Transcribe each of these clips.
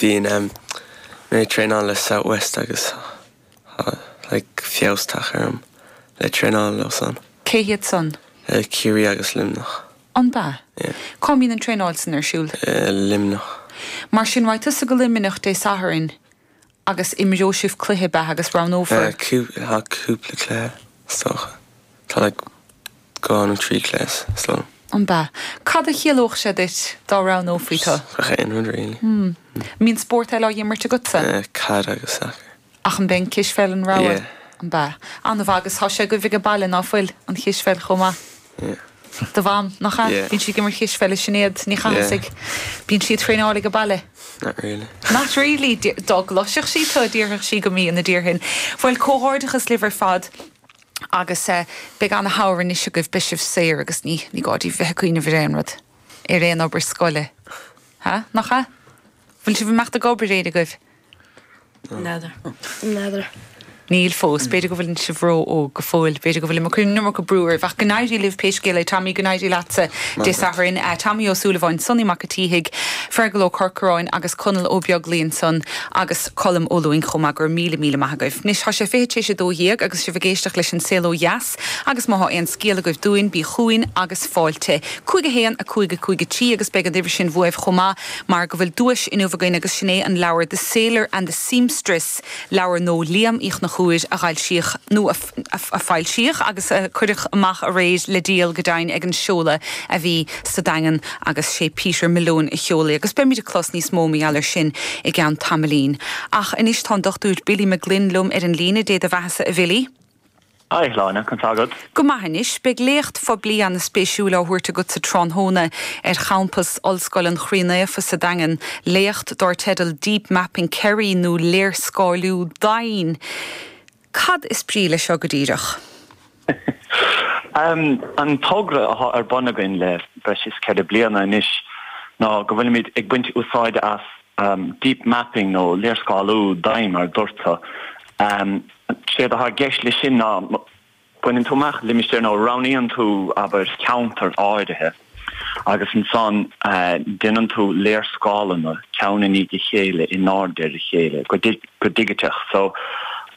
Bíonn mé ag traenáil le South West agus tá like feabhas tagtha orm le traenáil leo san. Cé hiad san? Ciarraí agus Luimneach. An b'ea? Yeah. Cá mbíonn an traenáil san ar siúl? Luimneach. Mar sin raghaidh tusa go Luimneach Dé Sathairn agus imreoidh sibh cluiche, b'ea, agus roghnófar. Tá cúpla cluiche, is dócha. Tá like 2 nó 3 cluiche, is dóigh liom. An b'ea? Cad a chiallódh sé duit dá roghnófaí tú? Gach aon rud really. An mbíonn spórt eile á imirt agatsa? Caid agus sacar. Ach an b'é an cispheil an rogha? Yeah. An b'ea? An-mhaith agus tá sé agaibh ag baile, ná fuil, an chispheil chomh maith? Yeah. Do mham, nach ea? Yeah. Bíonn sí ag imirt cispheile, Sinéad Ní Chathasaigh. Yeah. Bíonn sí ag traenáil ag baile? Not really. Not really? Dá gcloisfeadh sí tú, déarfadh sí go mbíonn, a déarfainn. Bhuel, comhghairdeachas libh ar fad agus beidh ana-shamhradh anois agaibh, beidh sibh saor agus ní, ní gá daoibh bheith ag cuimhneamh ar aon rud, ar aon obair scoile. Ha? Nach ea? Bhfuil sibh ag imeacht ag obair, éinne agaibh? N'fheadar. N'fheadar. Níl fós. B'fhéidir go bhfuileann sibh ró-óg go fóill. B'fhéidir go bhfuilim ag cur an iomarca brú oraibh. Ach go n-éirí libh pé scéal é. Tommy, go n-éirí leatsa Dé Sathairn. Tommy Ó Súilleabháin, Sonny Mac a' tSíthigh, Fergal Ó Corcoráin agus Conall Ó Beaglaoi ansan agus Colm Ó Lúing chomh maith. Go raibh míle, míle maith agaibh. Anois, tá sé 11:40 agus sibh ag éisteacht leis An Saol Ó Dheas agus má thá aon scéal agaibh dúinn, bí chugainn agus fáilte. 5 1 5 5 3 agus beidh an uimhir sin uaibh chomh maith. mar go bhfuil duais inniu againn agus sin é an leabhar The Sailor and the Seamstress, leabhar nó Liam Uí Chonchúir a dh'fhoilsíodh, nó a foilsíodh agus a cuireadh amach aréir le díol go deimhin ag an seoladh a bhí sa Daingean agus sé Peter Malone a sheol é agus beimid ag clos níos mó mar gheall air sin i gceann tamaillín. Ach anois tá an Dr Billy McGlynn liom ar an líne, Dé do bheathasa a Bhilly. Hi, a Shláine, conas tá agat? Go maith anois. Beidh léacht phoiblí ana-spéisiúil á thabhairt agat sa tráthnóna ar champas Ollscoil an Chroí Naofa sa Daingean, léacht dár teideal Deep Mapping Kerry nó Léarscáiliú Doimhin. Cad is brí leis seo go díreach? An togra atá ar bun againn le breis is 4 bliana anois ná go bhfuilimid ag baint úsáide as deep mapping nó léarscáiliú doimhin mar a dúirt tú. Séard atá i gceist leis sin ná baineann tú amach limistéar nó roghnaíonn tú, abair, ceantar áirithe agus ansan déanann tú léarscáileanna ceann i ndiaidh a chéile in airde ar a chéile go digiteach. So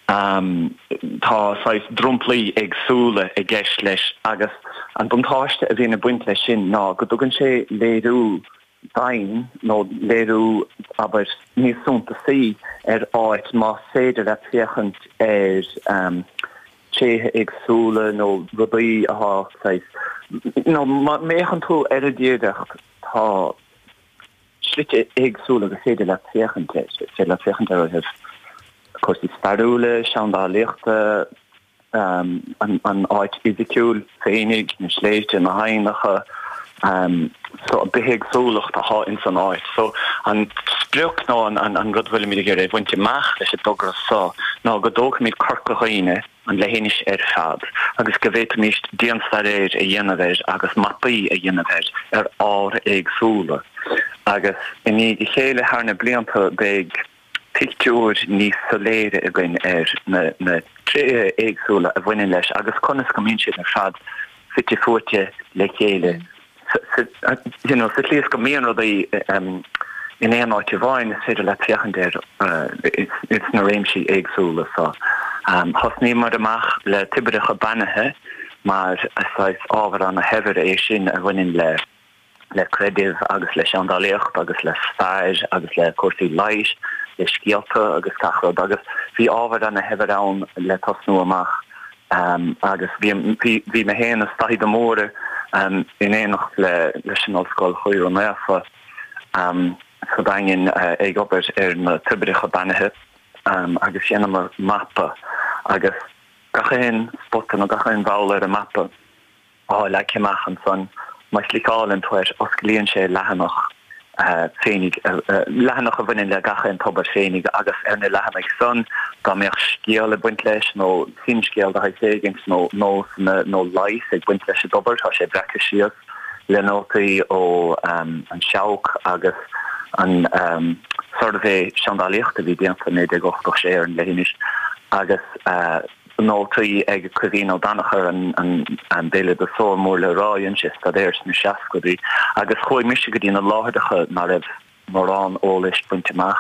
tá saghas dromplaí éagsúla i gceist leis agus an buntáiste a bhíonn ag baint leis sin ná go dtugann sé léiriú doimhin nó léiriú, abair, níos suntasaí ar áit más féidir leat féachaint ar tréithe éagsúla nó rudaí atá saghas, nó má fhéachann tú ar an dtírdhreach tá slite éagsúla gur féidir leat féachaint air, is féidir leat féachaint air ó thaobh cúrsaí stairiúla, seandálaíochta, an áit fhisiciúil féinig, na sléibhte, na haibhneacha, so an bithéagsúlacht atá ins an áit. So an sprioc nó an rud a bhfuilimid ag iarraidh a bhaint amach leis an dtogra so ná go dtógfaimid Corca Dhuibhne, an leithinis ar fad, agus go bhféadfaimis dianstaidéar a dhéanamh air agus mapaí a dhéanamh air ar ábhair éagsúla. Agus i ndiaidh a chéile thar na blianta beidh pictiúr níos soiléire againn ar na tréithe éagsúla a bhaineann leis agus conas go mbíonn siad ar fad fite fuaite le chéile you know sa tslí is go mbíonn rudaí in aon áit amháin is féidir leat féachaint air ins na réimsí éagsúla so. Thosnaíomar amach le toibreacha beannaithe mar saghas ábhar ana-shaibhir é sin a bhaineann le le creideamh agus le seandálaíocht agus le stair agus le cúrsaí leighis, le scéalta agus gach rud agus bhí ábhar ana-shaibhir ann le tosnú amach agus bhí bhí mé féin is Daithí de Mórdha in éineacht le leis an Ollscoil Chroí Naofa sa Daingean ag obair ar na toibreacha beannaithe agus dheineamar mapa agus gach aon spota nó gach aon bhall ar an mapa. Atá leagtha amach ansan. Má chliceálann tú air, osclaíonn sé leathanach féinig, leathanach a bhaineann le gach aon tobar féinig agus ar na leathanaigh san, dá mbeadh scéal ag baint leis nó finscéal de shaghas éigint nó nósanna nó leigheas ag baint leis an dtobar, tá sé breactha síos le nótaí ó an Seabhac agus an suirbhé seandálaíochta a bhí déanta i 1986 ar an leithinis agus. Nótaí ag Caoimhín Ó Danachair, an béaloideasóir mór le rá, dhein sé staidéar sna seascaidí agus chuaigh mise go dtí na láithreacha ná raibh mórán eolais bainte amach.